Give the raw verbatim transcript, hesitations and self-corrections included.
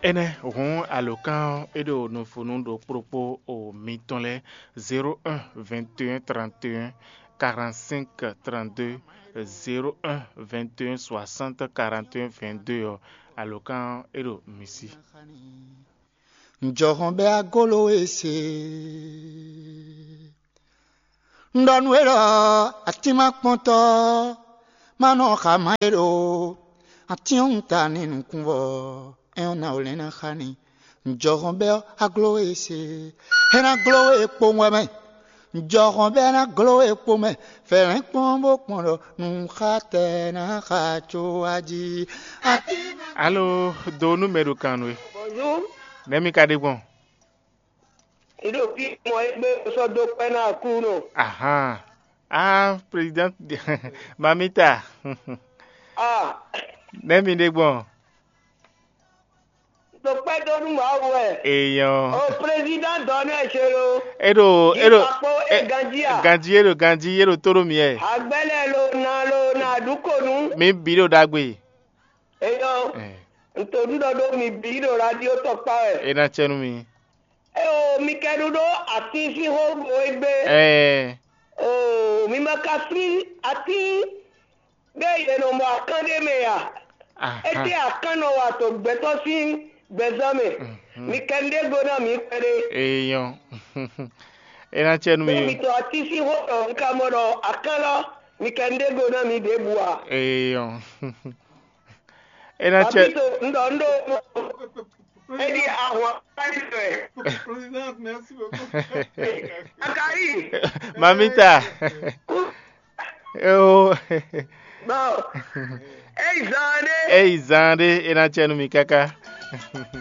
Énɛ́ hǔn alǒkan ɔ́, é ɖo nǔvú nú ɖokpó ɖokpó o mitɔn lɛ́ɛ, zéro un vingt et un trente et un quarante-cinq trente-deux, zéro un vingt et un soixante quarante et un vingt-deux ɔ́, alǒkan ɔ́, é ɖo mi sí. Njɔhɔn bɛ agolo e se. Un ɖɔ nú we ɖɔ atín ma kpɔ́ntɔ́ ma nɔ xa ma e ɖo atín ɔ́ ta ní nukúnvɔ. É ɔ́ ná o lɛ́n ná xa ní. Njɔhɔn bɛ ɔ́, aglo e se. É ná gló we kpowun wɛ mɛ. Njɔhɔn bɛ ná gló we kpo mɛ. Fɛlɛ́n kpɔ́n bó kpɔn ɖɔ nǔxatɛ ná xa có wá jí. Alo, do nú mɛ ɖo kan nú we. Bonjour. Nɛ̌ mi ka ɖe gbɔn? Ɖo fí mɔ é gbé sɔ́ dó kpɛ́ ná Aklúnɔ. Ahan. Ah, président. Mamita. Ah. Nɛ̌ mi ɖe gbɔn? Ɖo kpɛ́ dó nú Mawu wɛ. Eyɔn. O président dɔn ɛ ṣe lo. E ɖo e ɖo Ìpapò e ganjí a. Ganjí e ɖo ganjí e ɖo tó ɖo mi ɛ. Agbɛlɛ lo na lo na ɖu konu. Mi bǐ ɖo ɖagbe. Eyɔn. Ntòɖúɖɔ ɖó mi bǐ ɖo radio tɔkpá wɛ. E ná cɛ nú mi. Eo, mi kɛ ɖu ɖó atín sín xó bo é gbé. Ɛɛ. Oo, mi ma ka flín atín ɖé yě nɔ mɔ akán ɖé mɛ a? Ahan. Étɛ́ akán nɔ wa to gbɛtɔ́ sín gbɛzán mɛ? Mi kɛ nu ɖé go ná mi kpɛɖé. Eyɔn. E ná cɛ nú mi. Mi to atín sín xó ɖɔ un ka mɔ ɖɔ akán lɔ, mi kɛ nu ɖé go ná mi ɖěbǔ a? Eyɔn. E ná cɛ. Papito, un ɖɔ un ɖo. Edi ahwan. Akari. Mamita. Eo. Bon. Eyi zan ɖe. Eyi zan ɖe, e ná cɛ nú mi káká.